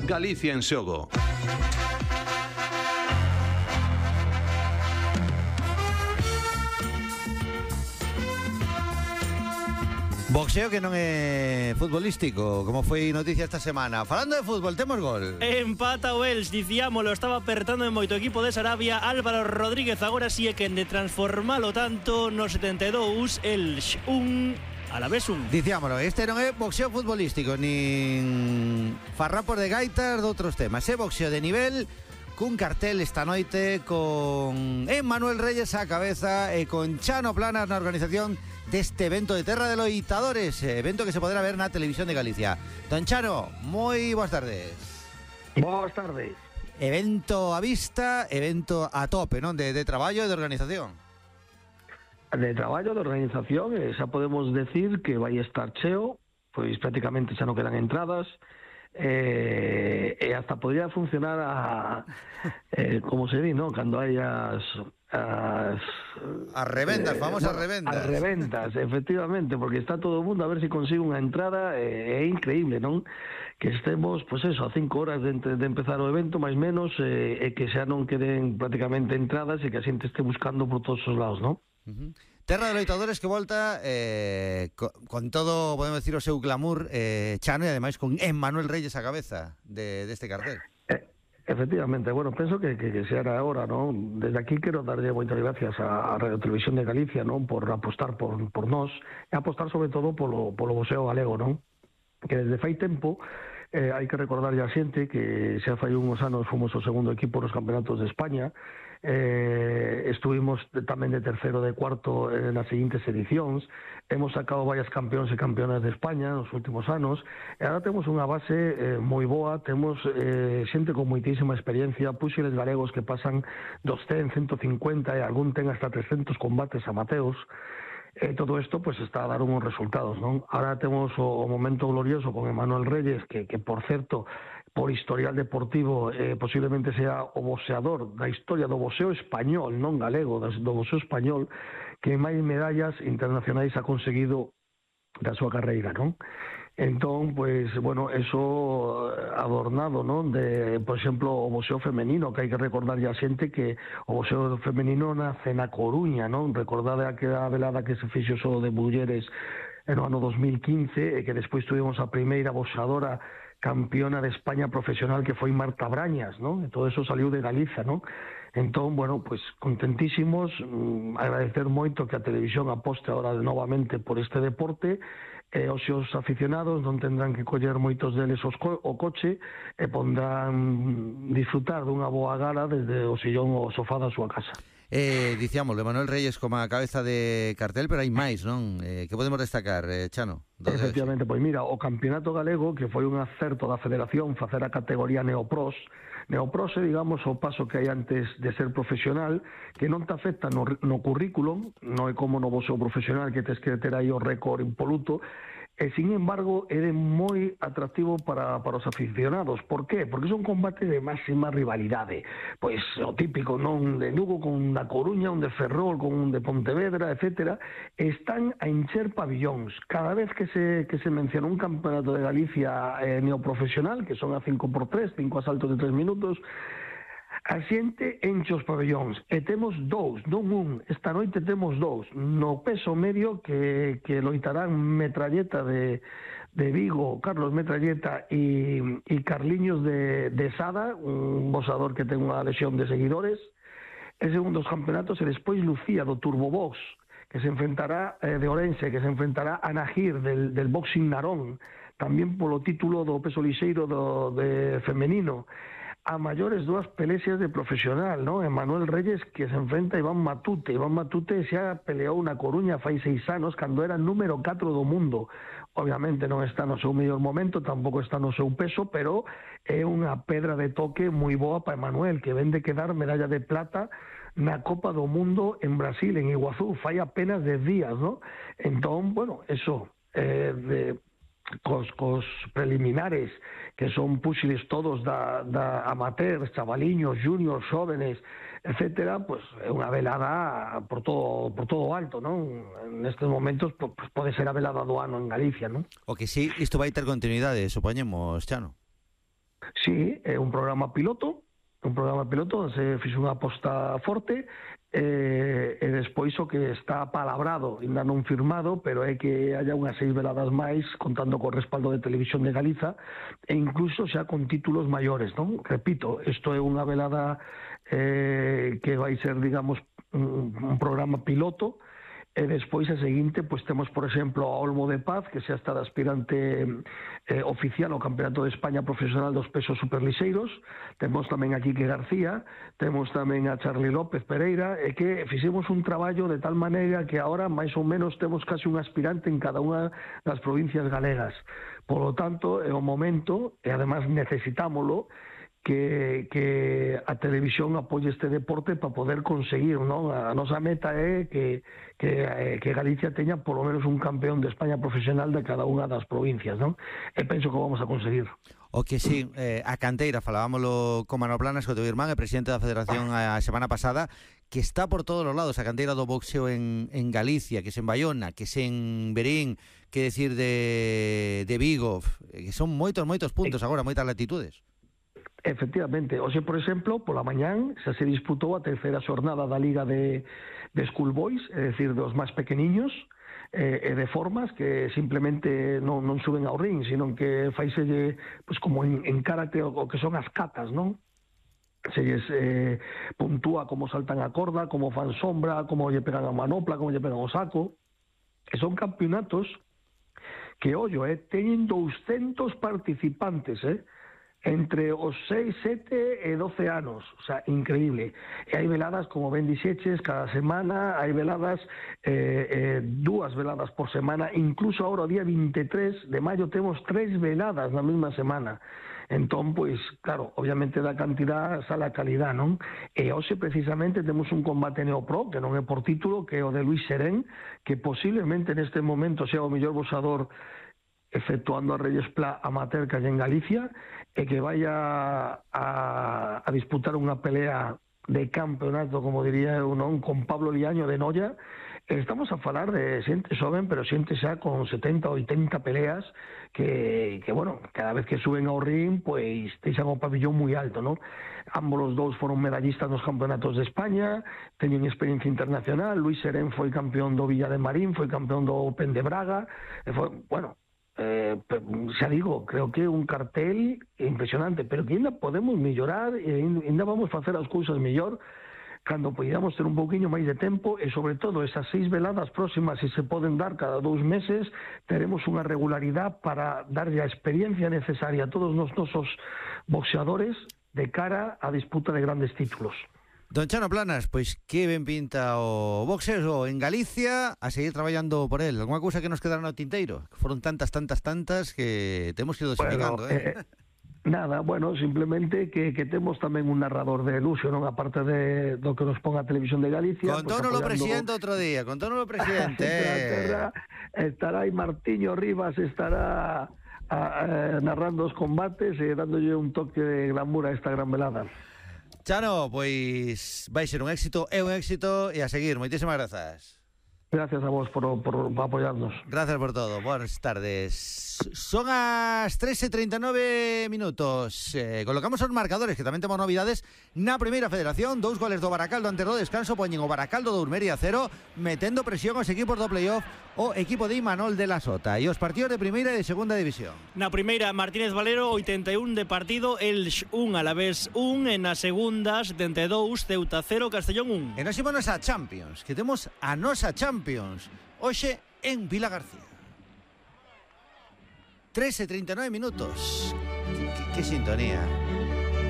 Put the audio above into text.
Galicia en xogo. Boxeo que non é futbolístico, como foi noticia esta semana. Falando de fútbol, temos gol. Empata o Elx, dicíamolo, estaba apertando en moito equipo de Sarabia. Álvaro Rodríguez agora sí é quen de transformalo tanto no 72, Elx 1, Alavés 1. Dicíamolo, este non é boxeo futbolístico, nin farrapos de gaitas de outros temas. É boxeo de nivel, cun cartel esta noite con Emmanuel Reyes á cabeza e con Chano Planas na organización deste evento de Terra de Loitadores, evento que se poderá ver na Televisión de Galicia. Don Chano, moi boas tardes. Boas tardes. Evento a vista, evento a tope, non? De traballo e de organización. De traballo, de organización, xa podemos decir que vai estar cheo, pois prácticamente xa non quedan entradas, e hasta podría funcionar como se di, non? Cando hai as revendas, famosas revendas. As revendas, efectivamente, porque está todo o mundo a ver se consigue unha entrada, é increíble, non? Que estemos, pois eso, a 5 horas de empezar o evento, máis menos, e que xa non queden prácticamente entradas e que a xente este buscando por todos os lados, non? Terra de Loitadores que volta con todo, podemos decir, o seu glamour, Chano, e ademais con Emmanuel Reyes á cabeza deste cartel. Efectivamente, bueno, penso que xa era hora, non? Desde aquí quero darlle moitas gracias á Radio Televisión de Galicia, non? Por apostar por nós, e apostar sobre todo polo boxeo galego, non? Que desde fai tempo hai que recordarlle a xente que xa fai uns anos fomos o segundo equipo nos campeonatos de España, estuvimos tamén de terceiro, de cuarto nas seguintes edicións, hemos sacado varias campeóns e campeonas de España nos últimos anos, e agora temos unha base moi boa, temos xente con moitísima experiencia, puxiles galegos que pasan dos 100, 150 e algún ten hasta 300 combates amateos. Todo isto pues está a dar uns resultados, non? Ahora temos o momento glorioso con Emmanuel Reyes, que por certo, por historial deportivo, posiblemente sea o boxeador da historia do boxeo español, non galego, do boxeo español, que máis medallas internacionais ha conseguido da súa carreira, non? Entón, pues, bueno, eso adornado, non? De, por exemplo, o boxeo femenino, que hai que recordar a xente que o boxeo femenino nace na Coruña, non? Recordade aquela velada que se fixo só de mulleres no ano 2015 e que despois tuvimos a primeira boxeadora campeona de España profesional que foi Marta Brañas, non? E todo eso saliu de Galiza, non? Entón, bueno, pues contentísimos, agradecer moito que a televisión aposte ahora novamente por este deporte, e os seus aficionados non tendrán que coller moitos deles o coche e pondrán disfrutar dunha boa gala desde o sillón ou o sofá da súa casa. Dicíamos, Emmanuel Reyes como a cabeza de cartel, pero hai máis, non? Que podemos destacar, Chano? Efectivamente, pois mira, o campeonato galego, que foi un acerto da federación facer a categoría Neopros, é, digamos, o paso que hai antes de ser profesional, que non te afecta no currículum, non é como no boxeo profesional que tes que ter aí o récord impoluto, e, sin embargo, é moi atractivo para os aficionados. Por qué? Porque son combates de máxima rivalidade. Pois o típico, non? De Lugo con da Coruña, un de Ferrol con un de Pontevedra, etcétera, están a encher pabillóns. Cada vez que se menciona un campeonato de Galicia neoprofesional, que son a 5x3, 5 asaltos de 3 minutos, a xente enche os pabellóns, e temos dous, non un, esta noite temos dous, no peso medio que loitarán Metralleta de Vigo, Carlos Metralleta e Carliños de Sada, un boxador que ten unha lesión de seguidores, e segundo os campeonatos, e despois Lucía do Turbobox, que se enfrentará de Orense, que se enfrentará a Nahir del Boxing Narón, tamén polo título do peso lixeiro de femenino, a maiores dúas peleas de profesional, non? Emmanuel Reyes, que se enfrenta a Iván Matute. Iván Matute xa peleou na Coruña fai 6 anos, cando era número 4 do mundo. Obviamente non está no seu mellor momento, tampouco está no seu peso, pero é unha pedra de toque moi boa para Emmanuel, que ven de quedar medalla de plata na Copa do Mundo en Brasil, en Iguazú, fai apenas 10 días, non? Entón, bueno, eso, cos preliminares, que son puxiles todos da amateur, chavaliños, juniors, jóvenes, etcétera, pues é unha velada por todo alto, non? Nestes momentos pues, pode ser a velada do ano en Galicia, non? O que sí, isto vai ter continuidade, supoñemos, Chano. Sí, é un programa piloto se fixe unha aposta forte e despois o que está palabrado, ainda non firmado, pero é que haya unhas 6 veladas máis contando co respaldo de Televisión de Galiza e incluso xa con títulos maiores, non? Repito, isto é unha velada que vai ser, digamos, un programa piloto. E despois a seguinte, pois temos, por exemplo, a Olmo de Paz, que xa está de aspirante oficial ao Campeonato de España Profesional dos pesos superlixeiros. Temos tamén a Quique García, temos tamén a Charly López Pereira, e que fixemos un traballo de tal maneira que agora máis ou menos temos casi un aspirante en cada unha das provincias galegas. Por lo tanto, é o momento, e además necesitámolo, que a televisión apoie este deporte para poder conseguir, non? A nosa meta é que Galicia teña polo menos un campeón de España profesional de cada unha das provincias, non? E penso que vamos a conseguir. O que sí, a canteira, falábamoslo con Manolo Planas, co teu irmán, e presidente da Federación a semana pasada, que está por todos os lados, a canteira do boxeo en Galicia, que se en Bayona, que se en Berín, que decir de Vigo, que son moitos puntos agora, moitas latitudes. Efectivamente, hoxe, por exemplo, pola mañán xa se disputou a terceira xornada da Liga de Schoolboys, é dicir, dos máis pequeniños e de formas que simplemente non suben ao ring, sino que faiselle, pues, como en karate o que son as katas, non? Se lles puntúa como saltan a corda, como fan sombra, como lle pegan a manopla, como lle pegan o saco. E son campeonatos que, ollo, teñen 200 participantes, entre os 6, 7 e 12 anos, o sea, increíble. E hai veladas, como ben dixeches, cada semana, hai veladas, 2 veladas por semana, incluso agora o día 23 de maio temos 3 veladas na mesma semana. Entón, pois, claro, obviamente da cantidad sale a calidad, non? E hoxe, precisamente, temos un combate neopro, que non é por título, que é o de Luis Serén, que posiblemente neste momento sea o mellor boxador efectuando a Reyes Pla amateur que hai en Galicia, e que vai a disputar unha pelea de campeonato, como diría eu, non, con Pablo Liaño de Noia. Estamos a falar de xente xoven, pero xente xa con 70, 80 peleas que bueno, cada vez que suben ao ring, pois deixan o pabillón moi alto, non? Ambos os dous foron medallistas nos campeonatos de España, teñen experiencia internacional. Luis Serén foi campeón do Villa de Marín, foi campeón do Open de Braga, e foi, bueno, xa digo, creo que é un cartel impresionante, pero que ainda podemos mellorar e ainda vamos facer as cousas mellor cando podamos ter un pouquiño máis de tempo, e sobre todo esas 6 veladas próximas, se poden dar cada 2 meses, teremos unha regularidade para darlle a experiencia necesaria a todos os nosos boxeadores de cara á disputa de grandes títulos. Don Chano Planas, pois que ben pinta o boxeo en Galicia, a seguir traballando por él. Alguna cousa que nos quedaron no tinteiro? Foron tantas que temos que ir dosificando, Nada, bueno, simplemente que temos tamén un narrador de luxo, non? Aparte do que nos pon a Televisión de Galicia. Contónolo o presidente outro día, contónolo o presidente. Estará aí Martiño Rivas, estará narrando os combates e dándolle un toque de glamour a esta gran velada. Chano, pois vai ser un éxito, é un éxito, e a seguir. Moitísimas grazas. Gracias a vos por apoyarnos. Gracias por todo. Buenas tardes. Son as 3:39 minutos. Colocamos os marcadores, que tamén temos novidades na Primeira Federación. 2 goles do Baracaldo antes do descanso poñen o Baracaldo do Urmeria 0, metendo presión aos equipos do playoff, o equipo de Imanol de la Sota, e os partidos de Primeira e de Segunda División. Na primeira, Martínez Valero 81 de partido, Elx 1, Alavés 1, e na segunda 72, Ceuta 0, Castellón 1. E nos ímonos a Champions, que temos a nosa Champions hoxe en Vila García. 3:39 minutos. Que sintonía.